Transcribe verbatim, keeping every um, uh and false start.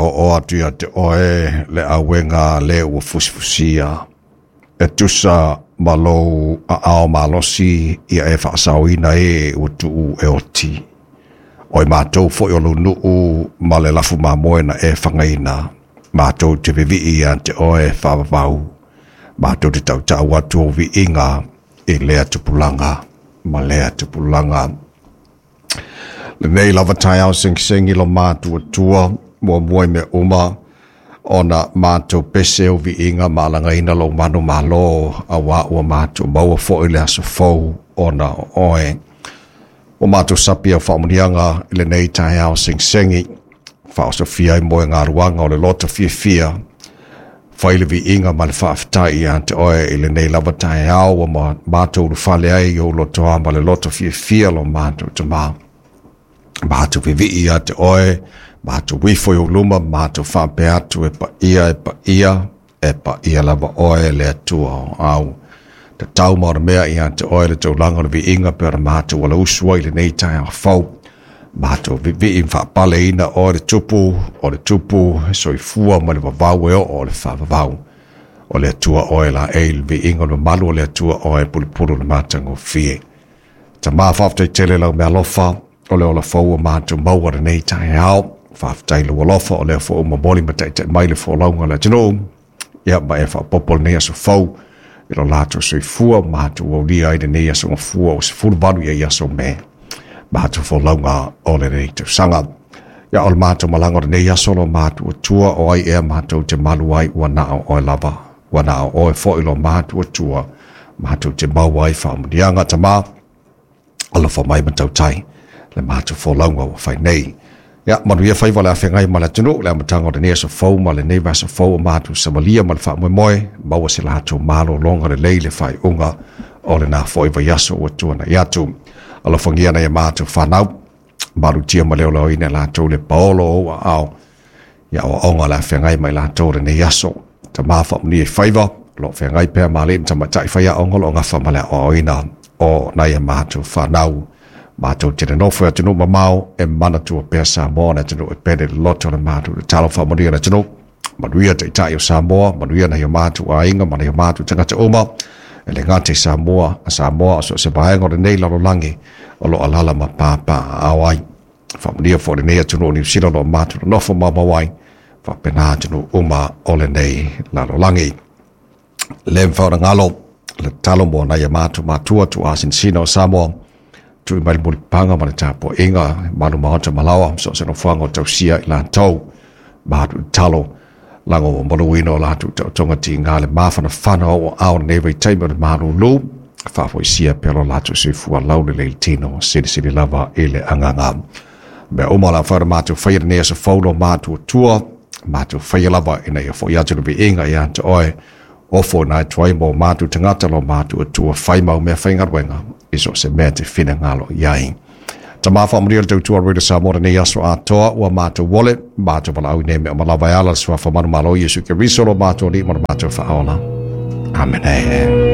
o o atu ia te oe le auega le ua fusifusia e tusa ma lou aao malosi ia e faasaoina e ua tuu e oti. O i matou foi o lou nuu ma le lafu mamoe na e fagaina, matou te vivii ia te oe faavavau, matou te tautau atu o viiga i lea tupulaga ma lea tupulaga. Lenei lava taeao segisegilo matuatua muamua i mea uma ona matou pese o viiga ma alagaina lou manu malo auā ua matou maua foʻi le aso fou ona o oe. Ua matou sapi au faamanuiaga i lenei taeao segisegi, faaosofia ai moe galuaga o le loto fiafia, fai le viiga ma le faafetai ia te oe i lenei lava taeao ua matou ulufale ai i ou lotoa ma le loto fiafia lo matou Tamā. Matou vivii ia te oe, matou ifo i ou luma, matou faapea atu e paia, e paia, e paia lava oe le Atua o au. Tatau ma ona mea ia te oe le taulaga o le viiga pe ona matou alausu ai i lenei taeao fou. Matou vivii faapaleina oe le Tupu, o le Tupu e soifua ma le vavau e oo o le faavavau. O le Atua oe la e le viiga o le mamalu o le Atua oe pulupulu le matagofie. Tamā faafetai tele lau mealofa o le ola fou ua matou maua lenei taeao. Faafetai lou alofa o lea foi ua momoli ma taitai mai le folauga a le atunuu. Ia ma e faaopoopo lenei aso fou i lo latou soifua matou aulia ai lenei aso gafua o sefuluvalu ia i aso Me. Matou folauga o lenei tausaga. Ia o le matou malaga o lenei aso lo matou atua o ai ea matou te malu ai ua na o oe lava. Ua na o oe foi lo matou atua. Matou te maua ai faamanuiaga Tamā. Alofa mai ma tautai le matou folauga ua fai nei. Ia, manuia faiva le afeagai ma le atunuu, le amataga o lenei aso fou ma lenei vaiaso fou o matou savalia ma le faamoemoe, maua se latou malologa lelei le faaiuga o lena foi vaiaso ua tuanai atu. Alofagia nai a matou fanau, malutia ma le olaoina e latou le paolo o ou aao, ia aoaoga le afeagai ma i latou lenei aso. Tamā faamanuia i faiva, o lo o feagai pea ma alii ma tamaitai faiaoga o lo o gafa ma le aoaoina o nai a matou fanau. Matou te nonofo i atunuu mamao e manatua pea Samoa le atunuu e pele le loto o le matou tatalo faamanuia le atunuu. Manuia taitai o Samoa, manuia nai o matou aiga ma nai o matou tagata uma. E le gata i Samoa, a Samoa o so o se vaega o lenei lalolagi o lo o alaala ma papaaao ai. Faamanuia foi lenei atunuu o Niu Sila o lo o matou nonofo maumau ai, faapena atunuu uma o lenei lalolagi. Le mafai ona galo le tatalo mo nai a matou matua tuuasinasina o Samoa, tui mai le mulipapaga ma le tapuaiga malu maota malaoa so o se nofoaga o tausia i latou. Matou tatalo lago maluina o latou taotoga tiga le mafanafana o aao lenei vaitaimi o le malulu, faafoisia pea lo latou soifua laulelei le tino silisili lava i le agaga. Mea uma o le a mafai ona matou faia lenei aso fou lo matou Atua, matou faia lava ina ia fo'i atu le viiga ia te oe. Ofo ina atu ai mo matou tagata lo matou Atua fai mau meafaigaluega i so o se mea te finagalo i ai. Tamā faamanuia le tautua a Radio Samoa lenei aso atoa ua matou ole, matou valaau i nei mea uma lava e ala i le suafa manumalo o Iesu Keriso lo matou Alii ma lo matou Faaola. Amene.